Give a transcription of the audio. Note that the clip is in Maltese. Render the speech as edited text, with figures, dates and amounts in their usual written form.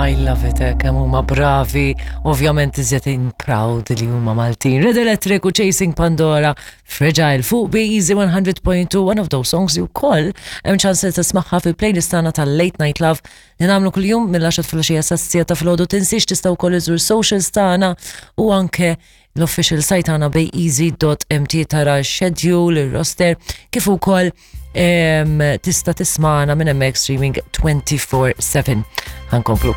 I love it, eh, kemm huma bravi, ovvjament iżjed in proud li huma Maltin. Red Electric u Chasing Pandora, Fragile fuq Be Easy 100.2, one of those songs you call, hemm ċans li tismagħha fil-playlist tagħna tal-Late Night Love li nagħmlu kuljum mill-10 filgħaxija sas-siegħa ta' filgħodu. Tinsiex tista' wkoll iżur socials tagħna u anke l-official site tagħna bayeasy.mt tara x-schedule, ir-roster, kif ukoll tista' tismana minn hemmhekk streaming 24/7. Ħankomplu.